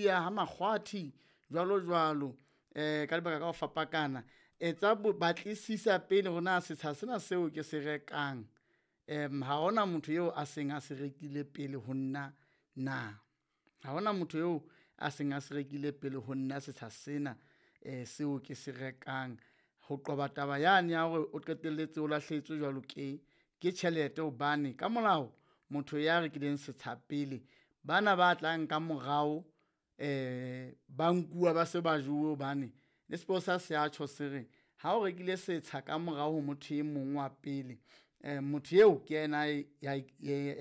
Sidiya ha Makgwathi jwalo jwalo, ka lebaka ka ho fapakana. Etsa batlisisa pele hore na setsha sena seo ke se rekang, ha hona motho eo a seng a se rekile pele ho nna na? Ha hona motho eo a seng a se rekile pele ho nna setsha sena seo ke se rekang. Ho qoba taba yane ya hore o qetelletse o lahlehetswe jwalo ke tjhelete hobane ka molao motho ya rekileng setsha pele, bana ba tlang ka morao ba nkuwa ba se ba jowe hobane le sepolesa se a tjho se re, ha o rekile setsha ka morao ho motho e mong wa pele, motho eo ke yena ya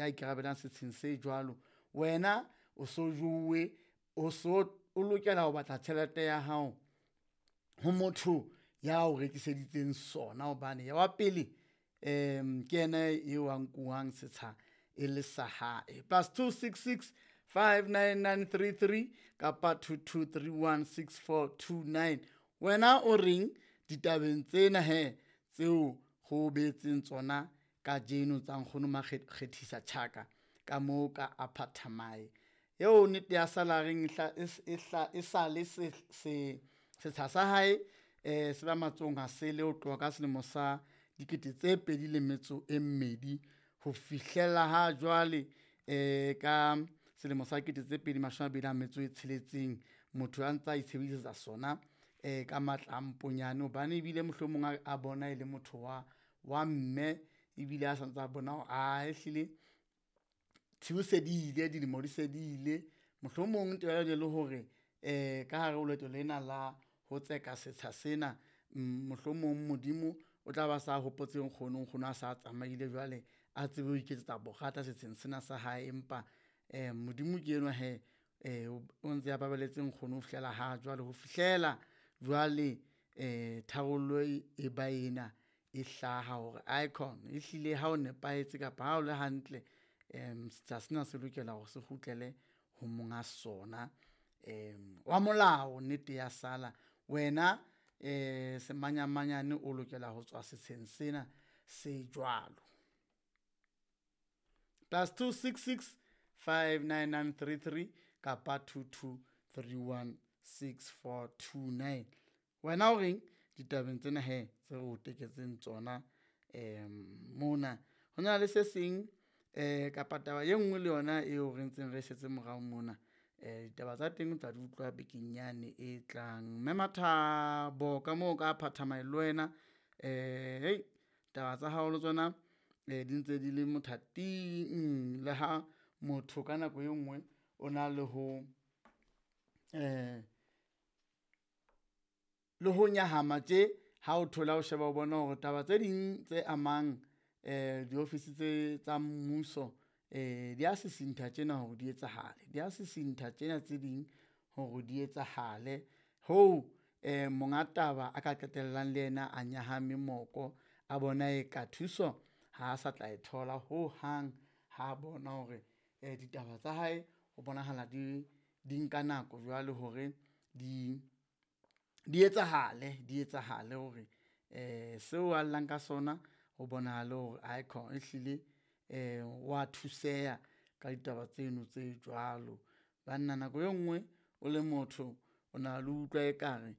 ikarabellang setsheng se jwalo. Wena o so jowe, o so o lokela ho batla tjhelete ya hao ho motho ya o rekiseditseng sona hobane wa pele ke yena eo a nkuwang setsha e le sa hae. +266 599 33 kapa 2231 6429. Wena o reng ditabeng tsena he tseo go beetseng tsona kajeno tsa nkgono Makgethisa Tjhaka ka moo ka Upper Thamae? Eo nnete ya salareng e sale setsha sa hae se ba matsohong a sele ho tloha ka selemo sa 2002 ho fihlela ha jwale ka selemo sa 2026 motho a ntsa itshebedisetsa sona ka matla a mponyane hobane ebile mohlomong a bona e le motho wa mme ebile a santsa a bona hore ae ehlile tshiu se di ile, dilemo di se di ile. Mohlomong taba ena le hore ka hare ho leeto lena la ho tseka setsha sena, mohlomong Modimo o tla ba sa hopotse nkgono, nkgono a sa tsamaile jwale a tsebe ho iketsetsa borata setsheng sena sa hae. Empa Modimo ke enwa hee o ntse a baballetse nkgono ho fihlela ha jwale, ho fihlela jwale tharollo e ba ena e hlaha hore aikhona ehlile ha o nepahetse kapa ha o le hantle, setsha sena se lokela hore se kgutlele ho monga sona wa molao nnete ya sala. Wena semanyamanyane o lokela ho tswa setsheng sena se jwalo. +266 599 33 kapa 2231 6429. Wena o reng ditabeng tsena he tse re o teketseng tsona mona? Ho na le se seng kapa taba e nngwe le yona eo re ntseng re setse morao mona, ditaba tsa teng o tla di utlwa bekeng yane e tlang. Mme Mathabo ka moo ka Phathamae le wena taba tsa hao le tsona di ntse di le mothating le ha motho ka nako e nngwe o na le ho le ho nyahama tje ha o thola o sheba o bona hore taba tse ding tse amang diofisi tse tsa mmuso di a sisintha tjena hore di etsahale, di a sisintha tjena tse ding hore di etsahale. Hoo monga taba a ka qetellang le yena a nyahame moko, a bona e ka thuso ha sa tla e thola hohang ha bona hore ditaba tsa hae ho bonahala di nka nako jwale hore di etsahale, di etsahale hore seo a llang ka sona ho bonahale hore aikhona ehlile wa thuseha ka ditaba tseno tse jwalo. Banna nako e nngwe o le motho o na le utlwa ekare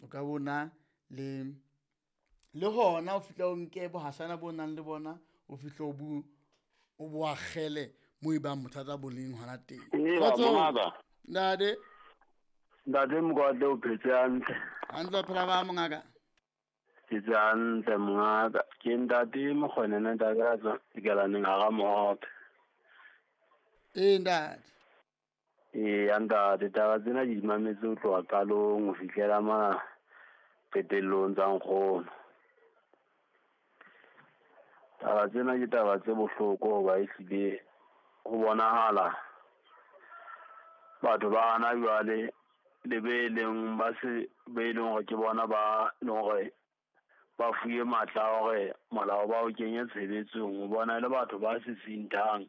o ka bona le hona o fihle o nke bohashana bo nang le bona, o fihle o bo o bo akgele moo e bang bothata bo leng hona teng. Kgotsong ntate. Ntate Mokoatle, o phetse hantle? Hantle, phela ba mongaka. Phetse hantle mongaka. Ke ntate Mokgonene, ntate a tswang Dikelaneng hara Mohope. Ee ntate. Ee ntate, taba tsena di mametse ho tloha qalong ho fihlela ma qetellong tsa nkgono. Taba tsena ke taba tse bohloko hoba ehlile ho bonahala batho ba hana jwale le be leng ba se be leng hore ke bona ba leng hore ba fuwe matla a hore molao ba o kenye tshebetsong. O bona le batho ba sisinthang,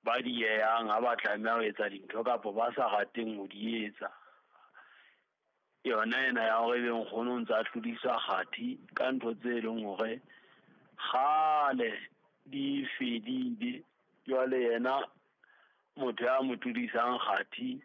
ba diehang ha ba tlameha ho etsa dintho kapa ba sa rateng ho di etsa. Yona ena ya hore ebe nkgono o ntsa tlodiswa kgathi ka ntho tse leng hore kgale di fedile. Jwale yena motho ya mo tlodisang kgathi